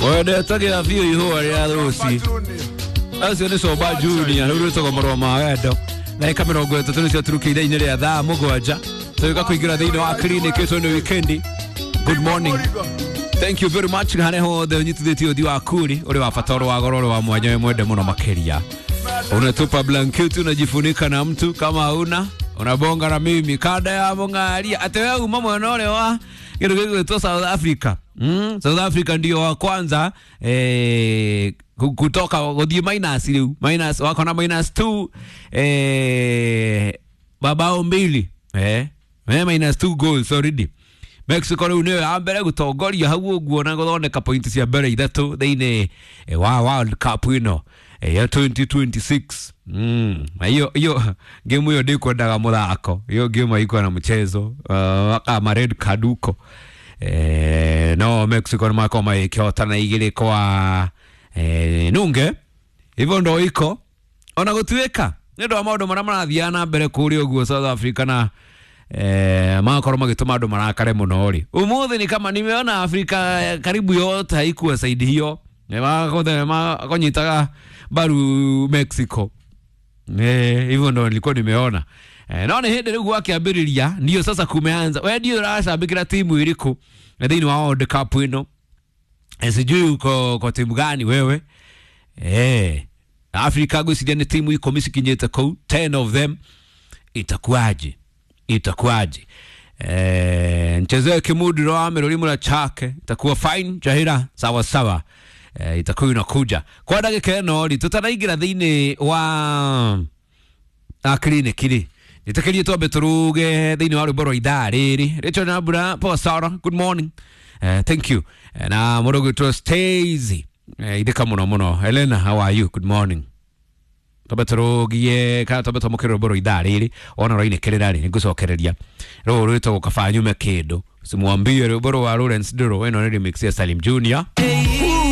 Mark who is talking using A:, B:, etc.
A: Wendete biũ ihũa rĩa rũci acio nĩ Coba Junior rĩu rwĩtagwo marũa ma wendo. Ndagĩka 30 nĩcio turukĩire inĩ rĩa thaa 7 tũgĩũka kũingĩra thĩinĩ wa clinic ĩtũ nĩ weekend. Good morning, thank you very much. Harĩa hothe ũnyitithĩtie ũthiũ waku rĩ ũrĩ wa bata, ũrĩ wa goro, ũrĩ wa mwanya, wĩ mwende mũno makĩria. Unatupa blanketi, unajifunika na mtu, kama hauna unabonga na mimi kanda ya mũng'aria atĩ we uma mwena ũrĩa wa kĩndũ gĩgwĩtwo South Africa. South Africa ndio wa kwanza kutoka gũthiĩ minus rĩu, minus wako na minus 2 mabao 2, minus 2 goals already. Mexico rĩu nĩyo ya mbere gũtongoria hau ũguo na gũthondeka point cia mbere 3 thĩinĩ wa World Cup ĩno ya 2026. Na hiyo hiyo game hiyo ndikwendaga mũthako, hiyo game haikuwa na mchezo, kama red card huko. No Mexico nĩ makorwo magĩkĩhotana 2-0. Hivyo ndo iko ona gũtuĩka nĩ ũndũ wa maũndũ marĩa marathiaga na mbere kũrĩa ũguo South Africa na magakorwo magĩtũma andũ marakare mũno rĩ. Ũmũthĩ ni kama nimeona Afrika karibu yote haikuwa side hiyo, makonyitaga mbaru Mexico. Hivyo ndo nilikuwa nimeona. No nĩ hĩndĩ rĩu gwakĩambĩrĩria ndio sasa kumeanza. We ndio ũracambĩkĩra timu ĩrĩkũ thĩinĩ wa World Cup ĩno? Sijui uko kwa timu gani wewe. Afrika ngwĩciria nĩ timu 10 cikinyĩte kũu, 10 of them. Itakuwaje? Itakuwaje? Mchezee kimudiro wa mĩrũri chake itakuwa fine jahira sawa sawa. Itakuwa inakuja kwa ndagĩka ĩno rĩ tũtanaingĩra thĩinĩ wa clinic rĩ nĩtĩkĩrie twambe tũruge thĩinĩ wa rwĩmbo rwa ithaa rĩrĩ. Rachel Nambura, poa sana, good morning. Thank you. Na mũndũ ũgwĩtwo Stacy, ithĩka mũno mũno. Elena, how are you? Good morning. Twambe tũrũgie kana twambe twamũkĩre rwĩmbo rwa ithaa rĩrĩ wona ũrainĩkĩrĩra rĩ nĩngũcokereria rũrũ rwĩtagwo kaba nyume kĩndũ simwambie rwĩmbo rwa Lawrence Ndũrũ. Ĩno nĩ remix ya Salim Junior.